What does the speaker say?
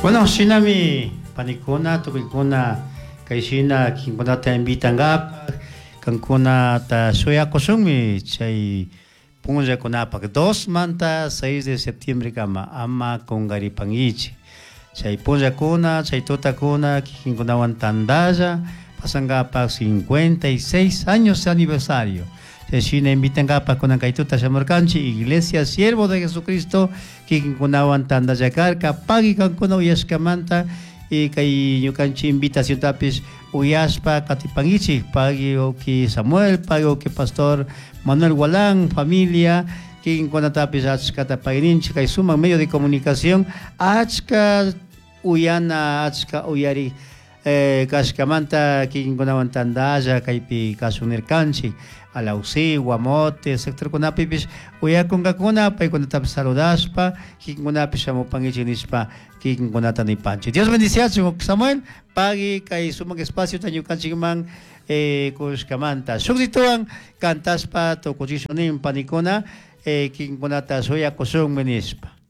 Bueno, shinami panikuna, tukuykuna kay shina kikinkunata invitankapaj kankunata shuyakushunmi chay punllakunapak 2 manta 6 de septiembre kama ama kunkaripankichik. Chay punllakuna, chay tutakuna kikinkunawan tantalla pasankapak 56 años de aniversario. Chay shina invitankapak kunan kay tuta shamurkanchik Iglesia Siervo de Jesucristo kikinkunawan tantalla karka pagui kankuna uyashkamanta y kay ñukanchik invitaciontapish uyashpa katipankichik pagui uki Samuel, pagui uki Pastor Manuel Gualán, familia kikinkunatapish achkata pagui kay sumak medio de comunicación achka uyana achka uyari kashkamanta kikinkunawan tantalla kaypi kashun nirkanchik Alausí, Guamote, sectorkunapipish uyakunkakuna paykunatapish saludashpa kikinkunapish shamupankichik nishpa kikinkunata nipanchik. Dios bendiciachun Samuel, pagui kay sumak espaciota ñukanchikman kushkamanta. Shukllituwan cantashpa tukuchishun nin panikuna kikinkunata shuyakushunmi nishpa.